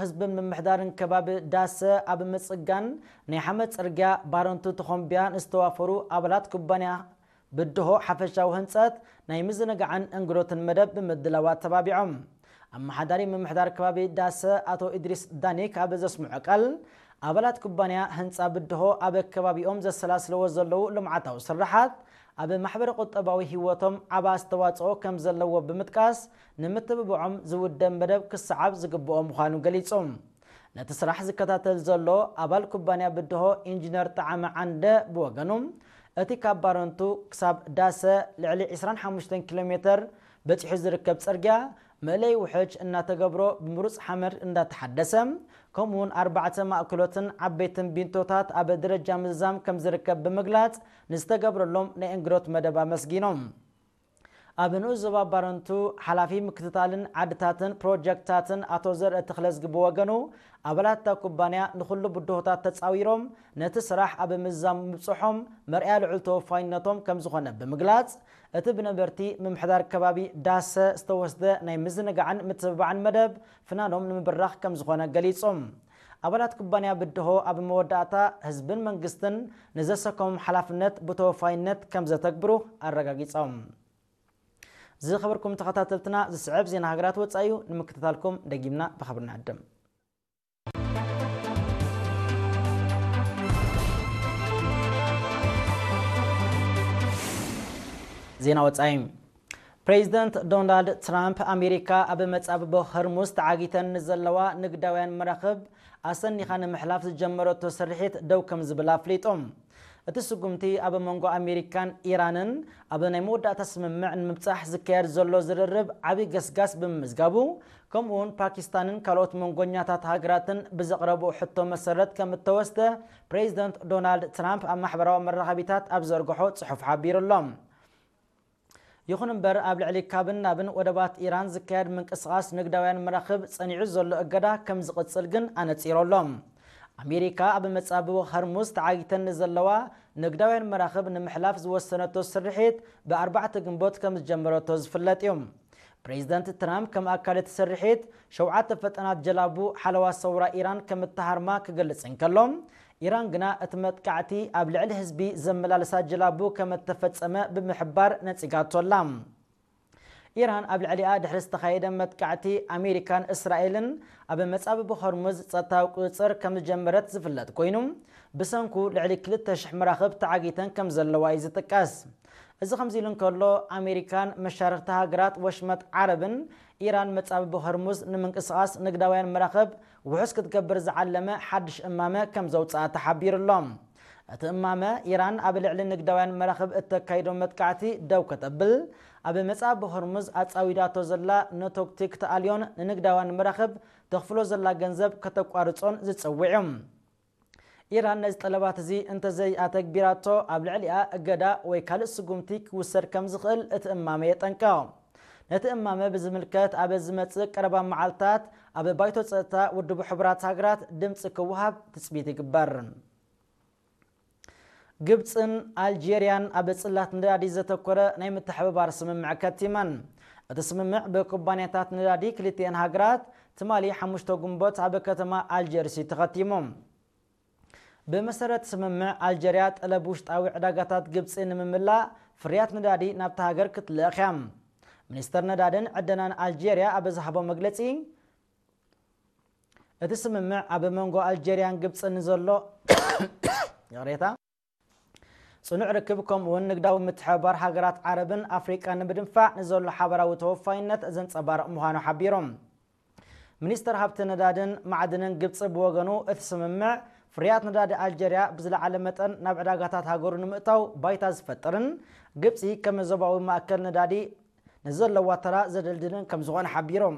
ህዝብን ምምሕዳርን ከባቢ ዳሰ ኣብ ምጽጋን ናይ ሓመድ ጽርግያ ባረንቱ ተኾምብያ ንዝተዋፈሩ ኣባላት ኩባንያ ብድሆ ሓፈሻዊ ህንጸት ናይ ምዝንጋዕን እንግዶትን መደብ ብምድላው ኣተባቢዖም። ኣመሓዳሪ ምምሕዳር ከባቢ ዳሰ ኣቶ ኢድሪስ ዳኒክ ኣብ ዘስምዖ ቃል፣ ኣባላት ኩባንያ ህንጻ ብድሆ ኣብ ከባቢኦም ዘሰላስለዎ ዘለዉ ልምዓታዊ ስራሓት ኣብ ማሕበረ ቁጠባዊ ህይወቶም ዓቢ ኣስተዋጽኦ ከም ዘለዎ ብምጥቃስ፣ ንምትብብዖም ዝውደብ መደብ ክሰዓብ ዝግብኦ ምዃኑ ገሊጹ። ነቲ ስራሕ ዝከታተል ዘሎ ኣባል ኩባንያ ብድሆ ኢንጂነር ጠዓመ ዓንደ ብወገኑ፣ እቲ ካብ ባረንቱ ክሳብ ዳሰ ልዕሊ ዕስራን ሓሙሽተን ኪሎ ሜተር በጺሑ ዝርከብ ጽርግያ መእለይ ውሕጅ እናተገብሮ ብምሩጽ ሓመድ እንዳተሓደሰ፣ ከምኡውን ኣርባዕተ ማእከሎትን ዓበይትን ቢንቶታት ኣብ ደረጃ ምዝዛም ከም ዝርከብ ብምግላጽ፣ ንዝተገብረሎም ናይ እንግዶት መደብ ኣመስጊኖም። ኣብ ንኡስ ዞባ ባረንቱ ሓላፊ ምክትታልን ዓድታትን ፕሮጀክትታትን ኣቶ ዘርእ ተኽለዝጊ ብወገኑ፣ ኣባላት እታ ኩባንያ ንኹሉ ብድሆታት ተጻዊሮም ነቲ ስራሕ ኣብ ምዝዛም ምብጽሖም መርኣያ ልዑል ተወፋይነቶም ከም ዝኾነ ብምግላጽ፣ እቲ ብነበርቲ ምምሕዳር ከባቢ ዳሰ ዝተወስደ ናይ ምዝንጋዕን ምትብባዕን መደብ ፍናኖም ንምብራኽ ከም ዝኾነ ገሊጾም። ኣባላት ኩባንያ ብድሆ ኣብ መወዳእታ ህዝብን መንግስትን ንዘሰከሞም ሓላፍነት ብተወፋይነት ከም ዘተግብሩ ኣረጋጊጾም። ዝኸበርኩም ተኸታተልትና፣ ዝስዕብ ዜና ሃገራት ወጻኢ እዩ። ንምክትታልኩም ደጊምና ብኽብሪ ንዕድም። ዜና ወጻኢ። ፕሬዚደንት ዶናልድ ትራምፕ፣ ኣሜሪካ ኣብ መጻብቦ ሆርሙዝ ተዓጊተን ንዘለዋ ንግዳውያን መራኽብ ኣሰኒኻ ንምሕላፍ ዝጀመረቶ ስርሒት ደው ከም ዝብል ኣፍሊጡ። እቲ ስጉምቲ ኣብ መንጎ ኣሜሪካን ኢራንን ኣብ ናይ መወዳእታ ስምምዕ ንምብጻሕ ዝካየድ ዘሎ ዝርርብ ዓቢ ገስጋስ ብምምዝጋቡ፣ ከምኡውን ፓኪስታንን ካልኦት መንጎኛታት ሃገራትን ብዘቕረብኦ ሕቶ መሰረት ከም እተወስደ ፕሬዚደንት ዶናልድ ትራምፕ ኣብ ማሕበራዊ መራኸቢታት ኣብ ዘርግሖ ጽሑፍ ሓቢሩ ኣሎ። ይኹን እምበር፣ ኣብ ልዕሊ ካብን ናብን ወደባት ኢራን ዝካየድ ምንቅስቓስ ንግዳውያን መራኽብ ጸኒዑ ዘሎ እገዳ ከም ዝቕጽል ግን ኣነጺሩ ኣሎ። ኣሜሪካ ኣብ መጻብቦ ሆርሙዝ ተዓጊተን ንዘለዋ ንግዳውያን መራኽብ ንምሕላፍ ዝወሰነቶ ስርሒት ብኣርባዕተ ግንቦት ከም ዝጀመረቶ ዝፍለጥ እዩ። ፕሬዚደንት ትራምፕ ከም ኣካል እቲ ስርሒት፣ ሸውዓተ ፈጣናት ጀላቡ ሓለዋ ሰውራ ኢራን ከም እተሃርማ ክገልጽ እንከሎ፣ ኢራን ግና እቲ መጥቃዕቲ ኣብ ልዕሊ ህዝቢ ዘመላልሳ ጀላቡ ከም እተፈጸመ ብምሕባር ነጺጋቶ ኣላ። ኢራን ኣብ ልዕሊኣ ድሕሪ ዝተኻየደ መጥቃዕቲ ኣሜሪካን እስራኤልን ኣብ መጻብቦ ሆርሙዝ ጸጥታዊ ቁጽጽር ከም ዝጀመረት ዝፍለጥ ኮይኑ፣ ብሰንኩ ልዕሊ ክልተ ሽሕ መራኽብ ተዓጊተን ከም ዘለዋ እዩ ዝጥቀስ። እዚ ከምዚ ኢሉ እንከሎ፣ ኣሜሪካን መሻርኽቲ ሃገራት ወሽመጥ ዓረብን ኢራን መጻብቦ ሆርሙዝ ንምንቅስቓስ ንግዳውያን መራኽብ ውሑስ ክትገብር ዝዓለመ ሓድሽ እማመ ከም ዘውጽኣ ተሓቢሩ ኣሎ። እቲ እማመ፣ ኢራን ኣብ ልዕሊ ንግዳውያን መራኽብ እተካይዶ መጥቃዕቲ ደው ከተብል፣ ኣብ መጻብቦ ሆርሙዝ ኣጻዊዳቶ ዘላ ነቶክቲ ክትኣልዮን ንንግዳውያን መራኽብ ተኽፍሎ ዘላ ገንዘብ ከተቋርጾን ዝጽውዕ እዩ። ኢራን ነዚ ጠለባት እዚ እንተዘይኣተግቢራቶ፣ ኣብ ልዕሊኣ እገዳ ወይ ካልእ ስጉምቲ ክውሰድ ከም ዝኽእል እቲ እማመ የጠንቅቕ። ነቲ እማመ ብዝምልከት፣ ኣብ ዝመጽእ ቀረባ መዓልታት ኣብ ባይቶ ጸጥታ ውድብ ሕቡራት ሃገራት ድምጺ ክወሃብ ትጽቢት ይግበር። ግብጽን ኣልጄርያን ኣብ ጽላት ነዳዲ ዘተኮረ ናይ ምትሕብባር ስምምዕ ከቲመን። እቲ ስምምዕ ብኩባንያታት ነዳዲ ክልቲአን ሃገራት ትማሊ ሓሙሽተ ግንቦት ኣብ ከተማ ኣልጀርሲ ተኸቲሙ። ብመሰረት ስምምዕ፣ ኣልጀርያ ጠለብ ውሽጣዊ ዕዳጋታት ግብጺ ንምምላእ ፍርያት ነዳዲ ናብታ ሃገር ክትልእኽ እያ። ሚኒስተር ነዳድን ዕደናን ኣልጀርያ ኣብ ዝሃቦ መግለጺ፣ እቲ ስምምዕ ኣብ መንጎ ኣልጀርያን ግብጽን ንዘሎ ይቕሬታ፣ ጽኑዕ ርክብ፣ ከምኡውን ንግዳዊ ምትሕብባር ሃገራት ዓረብን ኣፍሪቃን ንምድንፋዕ ንዘሎ ሓበራዊ ተወፋይነት ዘንጸባርቕ ምዃኑ ሓቢሮም። ሚኒስተር ሃብቲ ነዳድን ማዕድንን ግብጺ ብወገኑ፣ እቲ ስምምዕ ፍርያት ነዳዲ ኣልጀርያ ብዝለዓለ መጠን ናብ ዕዳጋታት ሃገሩ ንምእታው ባይታ ዝፈጥርን፣ ግብጺ ከም ዞባዊ ማእከል ነዳዲ ንዘለዋ ተራ ዘደልድልን ከም ዝኾነ ሓቢሮም።